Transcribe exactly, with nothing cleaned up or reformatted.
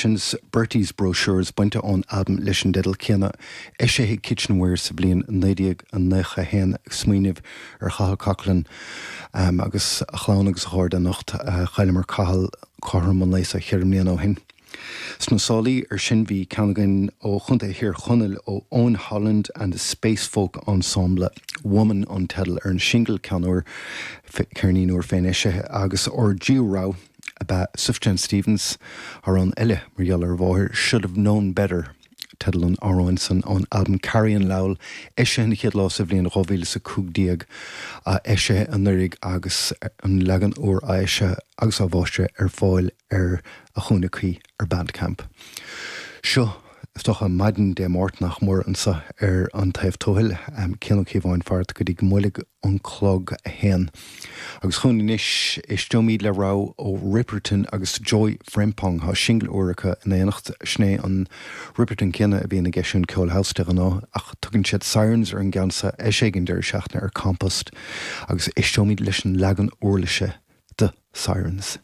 Kitchens Bertie's Brochures bainte ón albam leis an dteideal céanna eisithe Kitchenware sa bhliain naoi déag nócha haon ag smaoineamh ar Chathal Coughlan um, agus a chlann agus a chairde anocht uh, chailleamar Cathal cothrom an lae seo ceithre bliana ó shin. Sna sálaí ar sin bhí ceann againn ó Chontae Thír Chonaill ó Owen Holland and the Space Folk Ensemble Woman an teideal ar an singil ceann úr ceirnín úr féin eisithe agus ár dtríú rogha ab ea Sufjan Stevens amhrán eile mar gheall ar mháthair should have known better. Teideal an amhráin san ón album Carrie Lowell eisithe an chéad lá sa bhliain dhá mhíle is a cúig déag a eisithe anuraidh agus an leagan úr eisithe agus á mhaistreadh ar fáil ar a chúinne cuí ar Bandcamp. Seo is dócha maidin Dé Máirt nach mór anseo ar an taobh tuathail Cian Ó Cíobháin fart go dtí go mbuailfidh an clog a haon. Agus chun anois éisteoimid le rogha ó Ripperton agus Joy Frempong tá singil úr acu in éineacht sin é an Ripperton céanna a bhíonn ag eisiúint ceol house de ghnáth ach tugann siad Sirens ar an gceann seo eisithe an deireadh seachtaine ar Compost agus éisteoimid leis an leagan uirlise de Sirens.